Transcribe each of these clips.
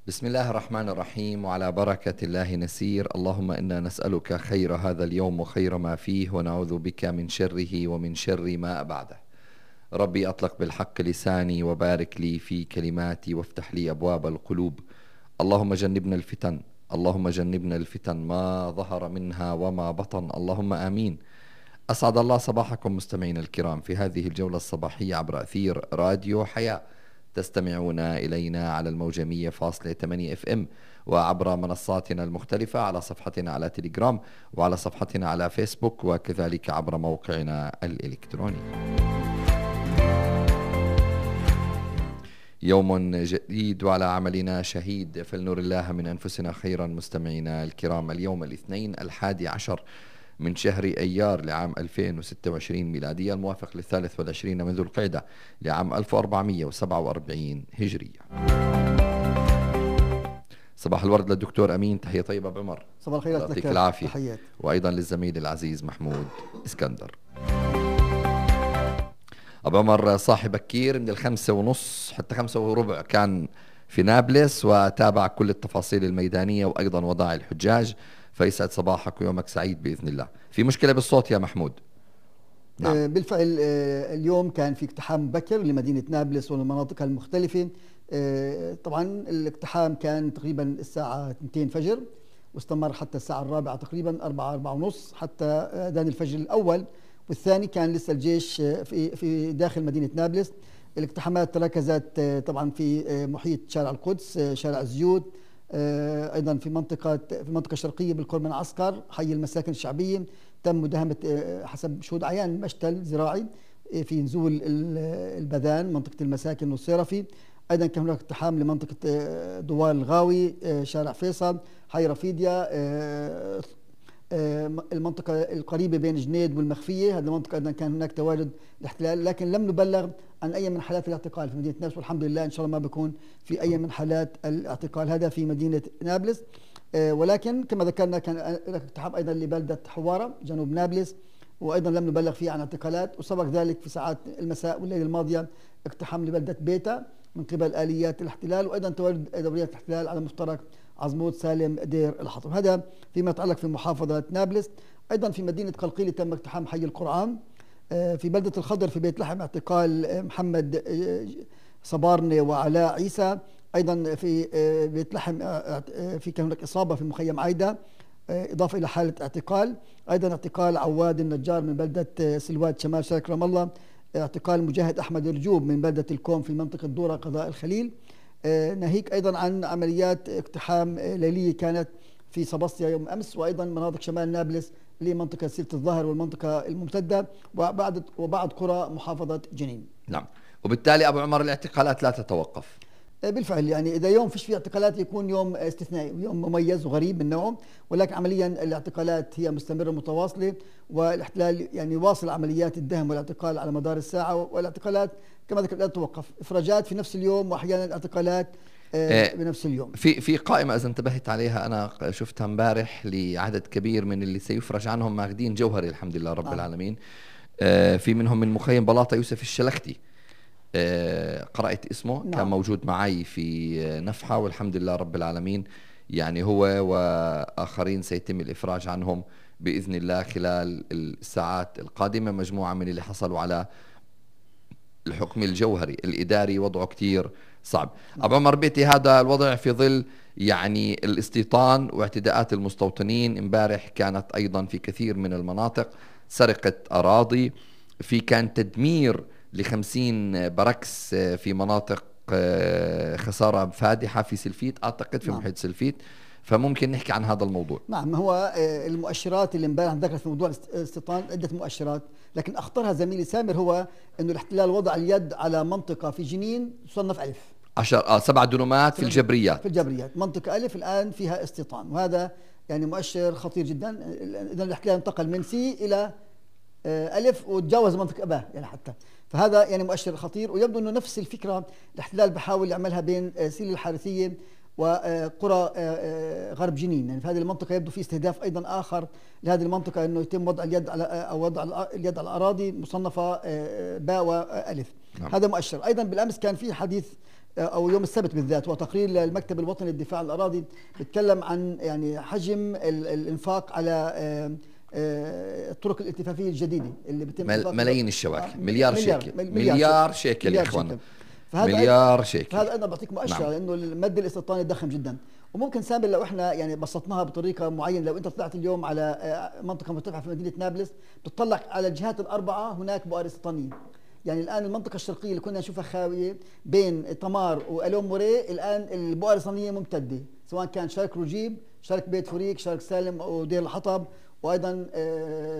بسم الله الرحمن الرحيم، وعلى بركة الله نسير. اللهم إنا نسألك خير هذا اليوم وخير ما فيه، ونعوذ بك من شره ومن شر ما بعده. ربي أطلق بالحق لساني، وبارك لي في كلماتي، وافتح لي أبواب القلوب. اللهم جنبنا الفتن، اللهم جنبنا الفتن ما ظهر منها وما بطن، اللهم آمين. أسعد الله صباحكم مستمعين الكرام في هذه الجولة الصباحية عبر أثير راديو حياة. تستمعون إلينا على الموجة 100.8 FM، وعبر منصاتنا المختلفة على صفحتنا على تليجرام، وعلى صفحتنا على فيسبوك، وكذلك عبر موقعنا الإلكتروني. يوم جديد وعلى عملنا شهيد، فلنر الله من أنفسنا خيرا. مستمعينا الكرام، اليوم الاثنين 11 من شهر أيار لعام 2026 ميلادية، الموافق ل23 من ذو القعدة لعام 1447 هجرية. صباح الورد للدكتور أمين، تحية طيبة بعمر. صباح الخير، يعطيك العافية. تحيات. وأيضا للزميل العزيز محمود اسكندر. أبو عمر صاحب بكير من 5:30 حتى 5:15 كان في نابلس، وتابع كل التفاصيل الميدانية وأيضا وضع الحجاج. فيسعد صباحك ويومك سعيد بإذن الله. في مشكلة بالصوت يا محمود؟ نعم. بالفعل اليوم كان في اقتحام مبكر لمدينة نابلس والمناطق المختلفة. طبعا الاقتحام كان تقريبا الساعة 2 فجر، واستمر حتى الساعة 4 تقريبا، 4:30 حتى أذان الفجر الأول والثاني. كان لسه الجيش في داخل مدينة نابلس. الاقتحامات تركزت طبعا في محيط شارع القدس، شارع الزيوت، أيضا في منطقة شرقية بالقرب من عسكر، حي المساكن الشعبية. تم مداهمة حسب شهود عيان مشتل زراعي في نزول البذان، منطقة المساكن والصيرفي. أيضا كان هناك اقتحام لمنطقة دوار الغاوي، شارع فيصل، حي رفيديا، المنطقة القريبة بين جنيد والمخفية. هذه المنطقة أيضا كان هناك تواجد الاحتلال، لكن لم نبلغ عن أي من حالات الاعتقال في مدينة نابلس، والحمد لله إن شاء الله ما بيكون في أي من حالات الاعتقال هذا في مدينة نابلس. ولكن كما ذكرنا كان هناك اقتحام أيضا لبلدة حوارة جنوب نابلس، وأيضا لم نبلغ فيه عن اعتقالات. وسبق ذلك في ساعات المساء والليل الماضية اقتحام لبلدة بيتا من قبل آليات الاحتلال، وأيضا تواجد دوريات الاحتلال على مفترق عزموت سالم دير الحطب. هذا فيما يتعلق في محافظة نابلس. أيضا في مدينة قلقيلة تم اقتحام حي القرآن. في بلدة الخضر في بيت لحم اعتقال محمد صبارني وعلاء عيسى. أيضا في بيت لحم في كان هناك إصابة في مخيم عايدة، إضافة إلى حالة اعتقال. أيضا اعتقال عواد النجار من بلدة سلوات شمال شرق رام الله. اعتقال مجاهد أحمد رجوب من بلدة الكوم في منطقة دورة قضاء الخليل. ناهيك أيضا عن عمليات اقتحام ليلية كانت في سباسطيا يوم أمس، وأيضا مناطق شمال نابلس لمنطقة سيرة الظاهر والمنطقة الممتدة، وبعض قرى محافظة جنين. نعم. وبالتالي أبو عمر الاعتقالات لا تتوقف. بالفعل يعني إذا يوم فيش فيه اعتقالات يكون يوم استثنائي ويوم مميز وغريب من نوعه، ولكن عمليا الاعتقالات هي مستمرة متواصلة، والاحتلال يعني واصل عمليات الدهم والاعتقال على مدار الساعة. والاعتقالات كما ذكرت لا تتوقف، إفراجات في نفس اليوم وأحيانا اعتقالات بنفس اليوم. في قائمة إذا انتبهت عليها أنا شفتها امبارح لعدد كبير من اللي سيفرج عنهم ماخذين جوهري الحمد لله رب العالمين. في منهم من مخيم بلاطة يوسف الشلختي، قرأت اسمه. نعم. كان موجود معي في نفحة والحمد لله رب العالمين. يعني هو وآخرين سيتم الإفراج عنهم بإذن الله خلال الساعات القادمة. مجموعة من اللي حصلوا على الحكم الجوهري الإداري وضعه كتير صعب. أبو عمر بيتي هذا الوضع في ظل يعني الاستيطان واعتداءات المستوطنين. امبارح كانت أيضا في كثير من المناطق سرقة أراضي، في كان تدمير ل50 بركس في مناطق، خسارة فادحة في سلفيت أعتقد في محيط سلفيت. فممكن نحكي عن هذا الموضوع. نعم، هو المؤشرات اللي امبارح ذكرت في موضوع الاستيطان عدة مؤشرات، لكن أخطرها زميلي سامر هو أنه الاحتلال وضع اليد على منطقة في جنين تصنف ألف 7 دنومات في الجبريات. منطقة ألف الآن فيها استيطان، وهذا يعني مؤشر خطير جدا. إذا الاحتلال انتقل من سي إلى ألف وتجاوز منطقة أباه يعني حتى، فهذا يعني مؤشر خطير. ويبدو أنه نفس الفكرة الاحتلال بحاول يعملها بين سيل الحارثية وقرى غرب جنين. يعني في هذه المنطقة يبدو في استهداف أيضا آخر لهذه المنطقة، أنه يتم وضع اليد على أو وضع اليد على الأراضي مصنفة باء وألف. نعم. هذا مؤشر. أيضا بالأمس كان في حديث او يوم السبت بالذات، وتقرير للمكتب الوطني للدفاع عن الاراضي بيتكلم عن يعني حجم الانفاق على الطرق الالتفافيه الجديده اللي بتم ملايين الشواكل، مليار شيكل، مليار شيكل يا اخوانا، مليار شيكل. فهذا ايضا بعطيك مؤشر نعم. لانه المد الاستيطاني ضخم جدا. وممكن سامر لو احنا يعني بسطناها بطريقه معينه، لو انت طلعت اليوم على منطقه مرتفعه في مدينه نابلس بتطلع على الجهات الاربعه هناك بؤر استيطانيه. يعني الان المنطقه الشرقيه اللي كنا نشوفها خاويه بين تمار والوم موري، الان البؤر الاستيطانيه ممتده، سواء كان شرق رجيب، شرق بيت فريق، شرق سالم ودير الحطب، وايضا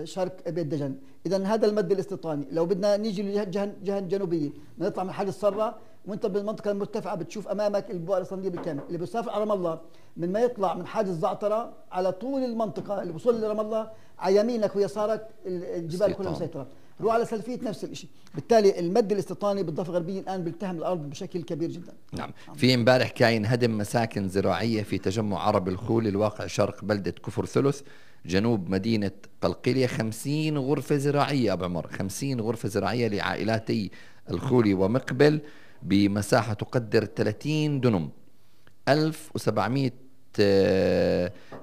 شرق بيت دجن. اذا هذا المد الاستيطاني. لو بدنا نيجي للجهه الجنوبيه نطلع من حد الصره، وانت بالمنطقه المرتفعه بتشوف امامك البؤر الاستيطانيه بالكامل. اللي بيسافر على رام الله من ما يطلع من حاجز الزعتره على طول المنطقه اللي بوصل لرام الله، على يمينك ويسارك الجبال كلها مسيطره. روح على سلفيت نفس الشيء. بالتالي المد الاستيطاني بالضفه الغربيه الان بيلتهم الارض بشكل كبير جدا. نعم. في امبارح كاين هدم مساكن زراعيه في تجمع عرب الخول الواقع شرق بلده كفر ثلث جنوب مدينه قلقيليه. 50 غرفه زراعيه ابو عمر، 50 غرفه زراعيه لعائلاتي الخولي ومقبل بمساحه تقدر 30 دنم، 1700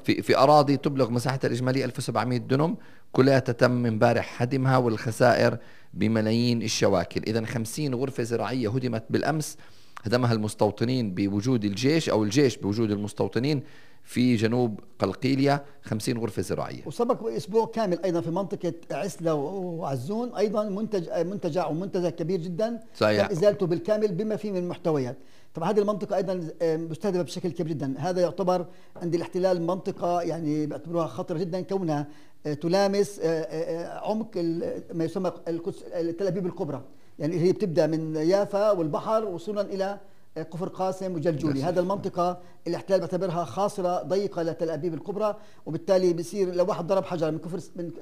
في اراضي تبلغ مساحتها الاجماليه 1700 دنم، كلها تم امبارح هدمها والخسائر بملايين الشواكل. اذا 50 غرفه زراعيه هدمت بالامس، هدمها المستوطنين بوجود الجيش او الجيش بوجود المستوطنين في جنوب قلقيلية. 50 غرفة زراعية. وسبق اسبوع كامل ايضا في منطقة عسلة وعزون ايضا منتجع ومنتزه كبير جدا صحيح. تم ازالته بالكامل بما فيه من المحتويات. طبعا هذه المنطقة ايضا مستهدفة بشكل كبير جدا. هذا يعتبر عند الاحتلال منطقة يعني بيعتبروها خطرة جدا، كونها تلامس عمق ما يسمى تل ابيب الكبرى، يعني هي بتبدا من يافا والبحر وصولا الى كفر قاسم وجلجولي. هذا المنطقة الاحتلال بيعتبرها خاصرة ضيقة لتل أبيب الكبرى، وبالتالي بصير لو واحد ضرب حجر من كفر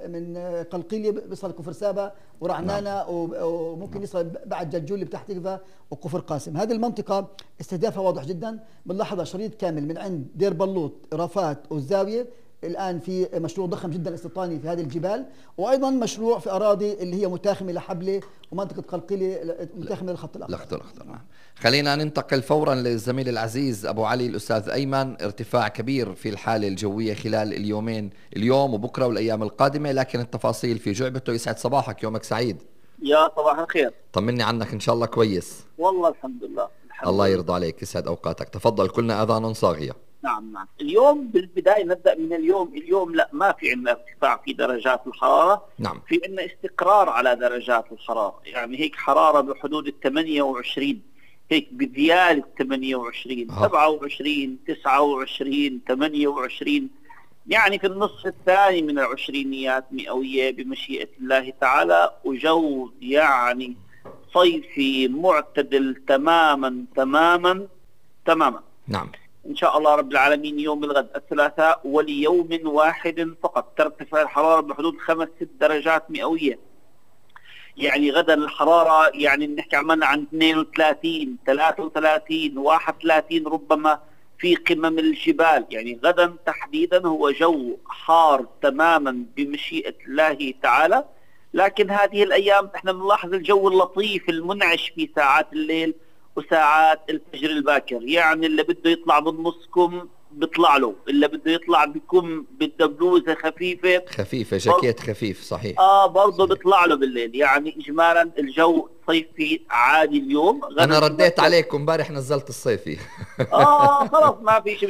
من قلقيلية بيصل كفر سابا ورعنانة وممكن يصل بعد جلجولي بتحت تكفى وكفر قاسم. هذه المنطقة استهدافها واضح جدا. بنلاحظها شريط كامل من عند دير بلوط رافات والزاوية. الآن في مشروع ضخم جدا استيطاني في هذه الجبال، وأيضا مشروع في أراضي اللي هي متاخمة لحبلة ومنطقة قلقيلية متاخمة للخط الأخضر. نعم. خلينا ننتقل فورا للزميل العزيز أبو علي الأستاذ أيمن. ارتفاع كبير في الحالة الجوية خلال اليومين، اليوم وبكرة والأيام القادمة، لكن التفاصيل في جعبته. يسعد صباحك، يومك سعيد. يا صباح الخير. طمني عنك، إن شاء الله كويس. والله الحمد لله. الله يرضى عليك، يسعد أوقاتك. تفضل، كلنا أذان صاغية. نعم. اليوم بالبداية نبدأ من اليوم لا ما في عندنا ارتفاع في درجات الحرارة. نعم. في عندنا استقرار على درجات الحرارة، يعني هيك حرارة بحدود 28، هيك بزيادة 28 27 29 28، يعني في النصف الثاني من العشرينيات مئوية بمشيئة الله تعالى، وجو يعني صيفي معتدل تماما تماما تماما. نعم. إن شاء الله رب العالمين يوم الغد الثلاثاء وليوم واحد فقط ترتفع الحرارة بحدود 5-6 درجات مئوية. يعني غدا الحرارة يعني نحكي عملنا عن 32 33 31 ربما في قمم الجبال. يعني غدا تحديدا هو جو حار تماما بمشيئة الله تعالى. لكن هذه الأيام احنا بنلاحظ الجو اللطيف المنعش في ساعات الليل وساعات الفجر الباكر. يعني اللي بده يطلع بنصكم بيطلع له، اللي بده يطلع بكم بده بلوزه خفيفه جاكيت خفيف. صحيح. برضه بيطلع له بالليل. يعني اجمالا الجو صيفي عادي اليوم. انا رديت عليكم امبارح نزلت الصيفي. خلاص ما في شيء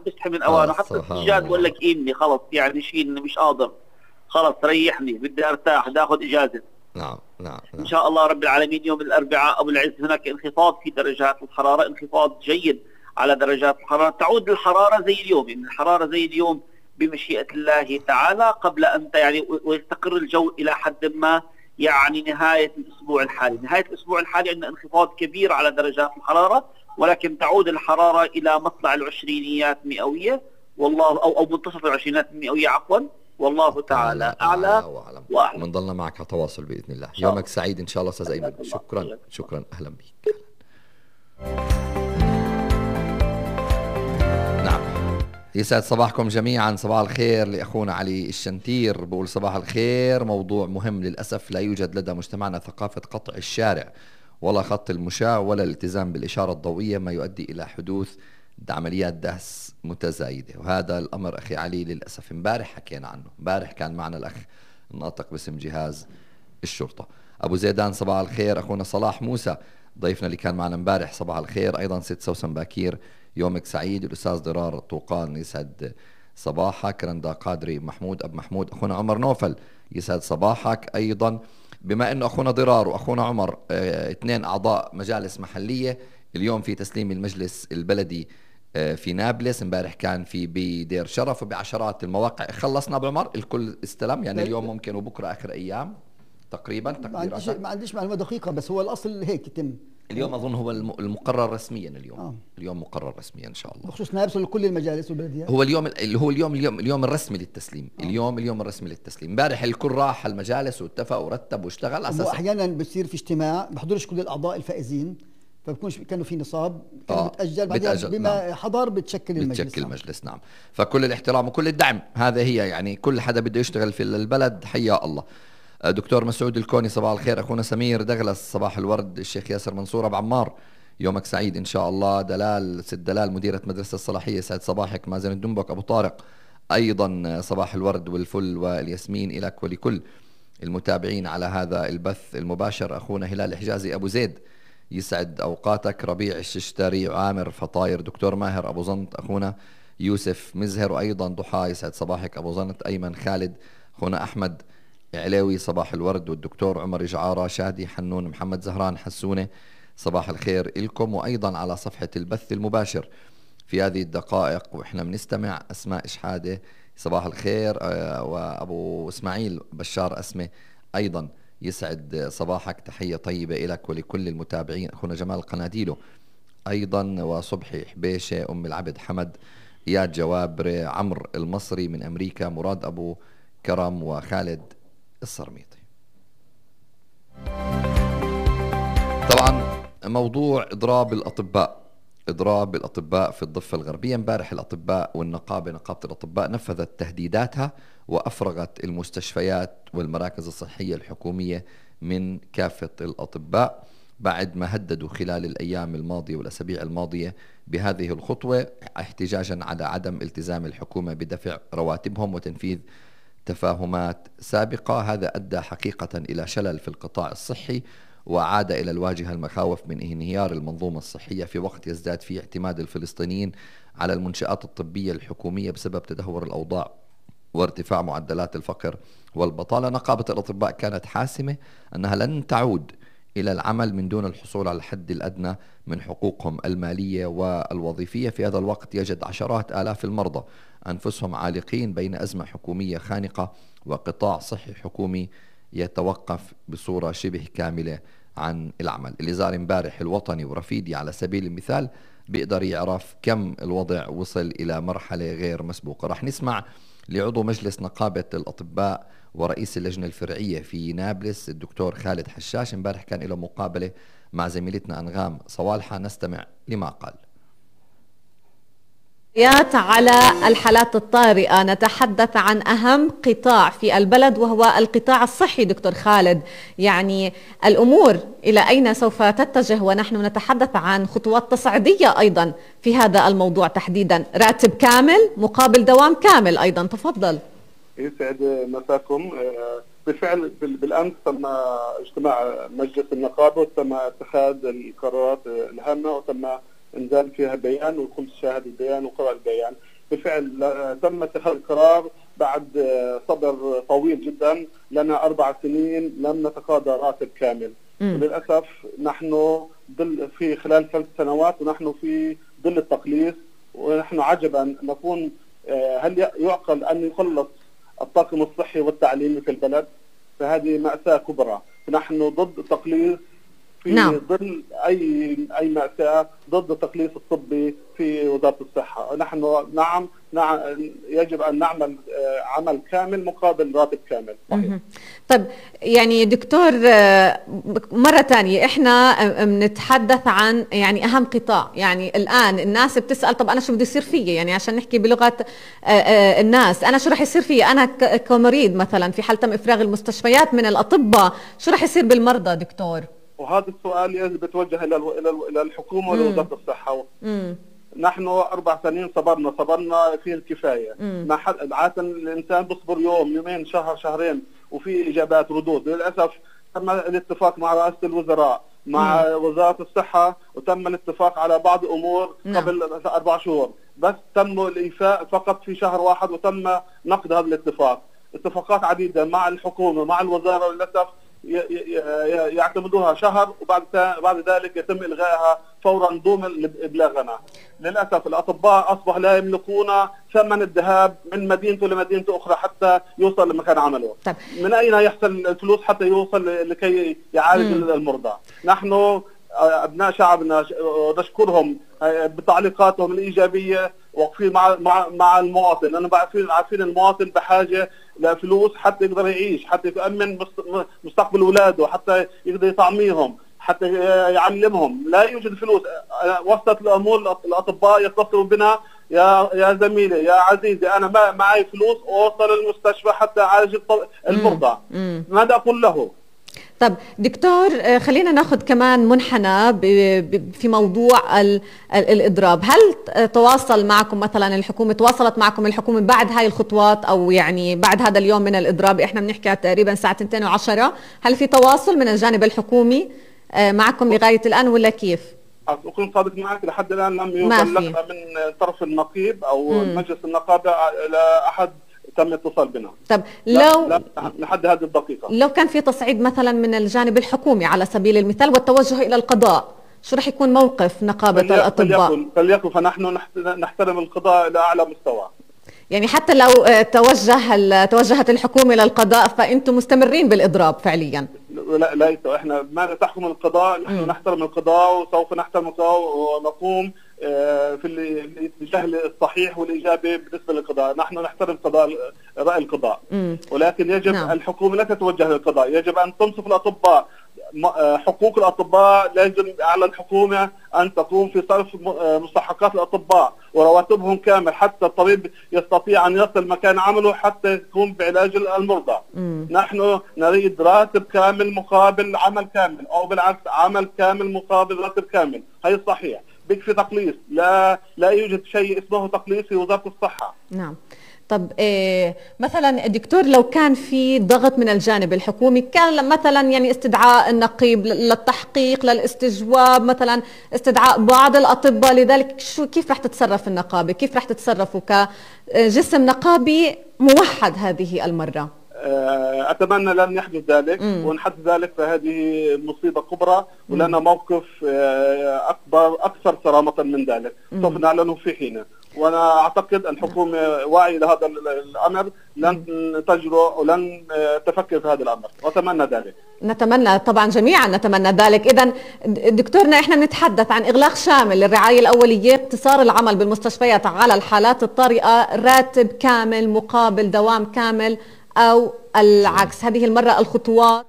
بيستحي من اوانه. حتى السجاد بقول لك إيمني خلاص، يعني شيء مش قادر، خلاص ريحني بدي ارتاح بدي اخذ اجازه. نعم. ان شاء الله رب العالمين يوم الاربعاء ابو العز هناك انخفاض في درجات الحراره، انخفاض جيد على درجات الحراره. تعود الحراره زي اليوم، يعني الحراره زي اليوم بمشيئه الله تعالى، قبل ان يعني ويستقر الجو الى حد ما. يعني نهايه الاسبوع الحالي عندنا انخفاض كبير على درجات الحراره، ولكن تعود الحراره الى مطلع العشرينيات مئويه، والله او منتصف العشرينيات المئويه عفوا، والله تعالى اعلى واعلم. بنضلنا معك على تواصل باذن الله. يومك سعيد ان شاء الله استاذ ايمن. شكرا اهلا بك. نعم. يسعد صباحكم جميعا. صباح الخير لاخونا علي الشنتير، بقول صباح الخير. موضوع مهم للاسف، لا يوجد لدى مجتمعنا ثقافه قطع الشارع ولا خط المشاة ولا الالتزام بالإشارة الضوئية، ما يؤدي إلى حدوث عمليات دهس متزايدة. وهذا الأمر أخي علي للأسف امبارح حكينا عنه، امبارح كان معنا الأخ الناطق باسم جهاز الشرطة. أبو زيدان صباح الخير. أخونا صلاح موسى ضيفنا اللي كان معنا امبارح صباح الخير أيضا. ست سوسن باكير يومك سعيد. الأستاذ ضرار طوقان يسعد صباحك. رندا قادري محمود أب محمود. أخونا عمر نوفل يسعد صباحك أيضا. بما أنه أخونا ضرار وأخونا عمر اثنين أعضاء مجالس محلية، اليوم في تسليم المجلس البلدي في نابلس، امبارح كان في بدير شرف وبعشرات المواقع. خلصنا بعمر الكل استلم يعني اليوم ممكن وبكرة آخر أيام تقريبا. ما عنديش معلومة دقيقة، بس هو الأصل هيك يتم اليوم. أظن هو المقرر رسميا اليوم. اليوم مقرر رسميا إن شاء الله بخصوص نابلس لكل المجالس والبلديات. هو اليوم اللي هو اليوم الرسمي للتسليم. اليوم الرسمي للتسليم. امبارح الكل راح المجالس واتفق ورتب واشتغل على اساس. احيانا بصير في اجتماع بحضرش كل الاعضاء الفائزين، فبكونش كانوا في نصاب كان بتأجل بعدين بما نعم. حضر بتشكل المجلس. نعم. فكل الاحترام وكل الدعم. هذا هي يعني كل حدا بده يشتغل في البلد حيا الله. دكتور مسعود الكوني صباح الخير. اخونا سمير دغلس صباح الورد. الشيخ ياسر منصور ابو عمار يومك سعيد ان شاء الله. ست دلال مديرة مدرسة الصلاحية سعد صباحك. مازن الدنبك ابو طارق ايضا صباح الورد والفل والياسمين لك ولكل المتابعين على هذا البث المباشر. اخونا هلال حجازي ابو زيد يسعد اوقاتك. ربيع الششتري عامر فطاير. دكتور ماهر ابو زنط. اخونا يوسف مزهر وايضا ضحى يسعد صباحك ابو زنط. ايمن خالد. اخونا احمد علاوي صباح الورد. والدكتور عمر جعارة شادي حنون محمد زهران حسونة صباح الخير إلكم. وأيضا على صفحة البث المباشر في هذه الدقائق وإحنا بنستمع أسماء إشحادة صباح الخير. وأبو إسماعيل بشار أسمة أيضا يسعد صباحك. تحية طيبة لك ولكل المتابعين. أخونا جمال قناديله أيضا. وصبحي حبيشة. أم العبد حمد. إياد جوابر. عمرو المصري من أمريكا. مراد أبو كرم. وخالد الصرميطي. طبعا موضوع إضراب الأطباء في الضفة الغربية. امبارح الأطباء والنقابة نقابة الأطباء نفذت تهديداتها وأفرغت المستشفيات والمراكز الصحية الحكومية من كافة الأطباء بعد ما هددوا خلال الأيام الماضية والأسابيع الماضية بهذه الخطوة احتجاجا على عدم التزام الحكومة بدفع رواتبهم وتنفيذ تفاهمات سابقة. هذا أدى حقيقة إلى شلل في القطاع الصحي وعاد إلى الواجهة المخاوف من انهيار المنظومة الصحية في وقت يزداد فيه اعتماد الفلسطينيين على المنشآت الطبية الحكومية بسبب تدهور الأوضاع وارتفاع معدلات الفقر والبطالة. نقابة الأطباء كانت حاسمة أنها لن تعود إلى العمل من دون الحصول على الحد الأدنى من حقوقهم المالية والوظيفية. في هذا الوقت يجد عشرات آلاف المرضى أنفسهم عالقين بين أزمة حكومية خانقة وقطاع صحي حكومي يتوقف بصورة شبه كاملة عن العمل. اللي زار امبارح الوطني ورفيدي على سبيل المثال بيقدر يعرف كم الوضع وصل إلى مرحلة غير مسبوقة. رح نسمع لعضو مجلس نقابة الأطباء ورئيس اللجنة الفرعية في نابلس الدكتور خالد حشاش. امبارح كان له مقابلة مع زميلتنا أنغام صوالحة. نستمع لما قال. على الحالات الطارئة نتحدث عن أهم قطاع في البلد وهو القطاع الصحي. دكتور خالد، يعني الأمور إلى أين سوف تتجه ونحن نتحدث عن خطوات تصعيدية أيضا في هذا الموضوع تحديدا؟ راتب كامل مقابل دوام كامل أيضا. تفضل. يسعد مساكم. بالفعل بالأمس تم اجتماع مجلس النقابة وتم اتخاذ القرارات الهامة وتم انزال فيها بيان والكل شاهد البيان وقرأ البيان. بالفعل تم اتخاذ القرار بعد صبر طويل جدا. لنا 4 سنين لم نتقاضى راتب كامل. وللأسف نحن في خلال 3 سنوات ونحن في ظل التقليص. ونحن عجبا نكون هل يعقل أن يخلص الطاقم الصحي والتعليمي في البلد؟ فهذه مأساة كبرى. نحن ضد التقليص في ظل أي مأساة، ضد التقليص الطبي في وزارة الصحة. نحن نعم يجب أن نعمل عمل كامل مقابل راتب كامل. طيب يعني دكتور مرة تانية احنا بنتحدث عن يعني أهم قطاع. يعني الآن الناس بتسأل طب أنا شو بده يصير فيي؟ يعني عشان نحكي بلغة الناس، أنا شو رح يصير فيي؟ أنا كمريض مثلا في حال تم إفراغ المستشفيات من الأطباء، شو رح يصير بالمرضى دكتور؟ وهذا السؤال يجب يتوجه الى الحكومه ولوزاره الصحه. نحن 4 سنين صبرنا فيه الكفايه. ما حد عاده الانسان بيصبر يوم يومين شهر شهرين وفي اجابات ردود. للاسف تم الاتفاق مع رئاسه الوزراء مع وزاره الصحه وتم الاتفاق على بعض الامور قبل 4 شهور، بس تم الايفاء فقط في شهر واحد وتم نقد هذا الاتفاق. اتفاقات عديده مع الحكومه مع الوزاره للاسف يعتمدوها شهر وبعد ذلك يتم الغائها فورا دون ابلاغنا. للاسف الاطباء اصبح لا يملكون ثمن الذهاب من مدينته لمدينه اخرى حتى يوصل لمكان عمله. طيب. من اين يحصل الفلوس حتى يوصل لكي يعالج المرضى؟ نحن ابناء شعبنا نشكرهم بتعليقاتهم الايجابيه، واقفين مع المواطن، لانه عارفين المواطن بحاجه لفلوس حتى يقدر يعيش، حتى يؤمن مستقبل اولاده، حتى يقدر يطعميهم، حتى يعلمهم. لا يوجد فلوس. وصلت الامور الاطباء يتصلوا بنا، يا زميلي يا عزيزي انا ما معي فلوس اوصل المستشفى حتى اعالج المرضى. ماذا اقول له؟ طب دكتور، خلينا ناخذ كمان منحنى في موضوع الإضراب. هل تواصل معكم مثلا الحكومة، تواصلت معكم الحكومة بعد هاي الخطوات أو يعني بعد هذا اليوم من الإضراب؟ إحنا بنحكي تقريبا الساعة 2:10. هل في تواصل من الجانب الحكومي معكم لغاية الآن ولا كيف؟ أكون صادق معك، لحد الآن لم يبلغنا من طرف النقيب أو مجلس النقابة إلى أحد تم الاتصال بنا. طب لا لحد هذه الدقيقة لو كان في تصعيد مثلا من الجانب الحكومي على سبيل المثال والتوجه إلى القضاء، شو رح يكون موقف نقابة الأطباء؟ فليكن فنحن نحترم القضاء إلى أعلى مستوى. يعني حتى لو توجهت الحكومة إلى القضاء فأنتم مستمرين بالإضراب فعليا؟ لا احنا ما تحكم القضاء، نحن نحترم القضاء وسوف نحترم القضاء ونقوم في الاتجاه الصحيح والإيجابي بالنسبة للقضاء. نحن نحترم رأي القضاء، ولكن يجب الحكومة لا تتوجه للقضاء، يجب أن تنصف الأطباء. حقوق الأطباء لازم على الحكومة أن تقوم في صرف مستحقات الأطباء ورواتبهم كامل، حتى الطبيب يستطيع أن يصل مكان عمله حتى يقوم بعلاج المرضى. نحن نريد راتب كامل مقابل عمل كامل، أو بالعكس عمل كامل مقابل راتب كامل. هي صحيح. بيكفي تقليص، لا يوجد شيء اسمه تقليص في وزارة الصحة. نعم. طب مثلا دكتور، لو كان في ضغط من الجانب الحكومي، كان مثلا يعني استدعاء النقيب للتحقيق للاستجواب، مثلا استدعاء بعض الأطباء لذلك، كيف رح تتصرف النقابة؟ كيف رح تتصرفوا كجسم نقابي موحد هذه المرة؟ أتمنى لن يحدث ذلك، وإن حدث ذلك فهذه مصيبة كبرى ولنا موقف أكثر صرامة من ذلك سوف نعلنه في حينه. وأنا أعتقد الحكومة واعية لهذا الأمر، لن تجرؤ ولن تفكر في هذا الأمر، وأتمنى ذلك. نتمنى طبعا، جميعا نتمنى ذلك. إذن دكتورنا، إحنا بنتحدث عن إغلاق شامل للرعاية الأولية، اقتصار العمل بالمستشفيات على الحالات الطارئة، راتب كامل مقابل دوام كامل، أو العكس. هذه المرة الخطوات.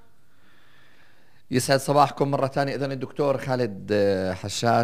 يسعد صباحكم مرة ثانية. إذن الدكتور خالد حشاش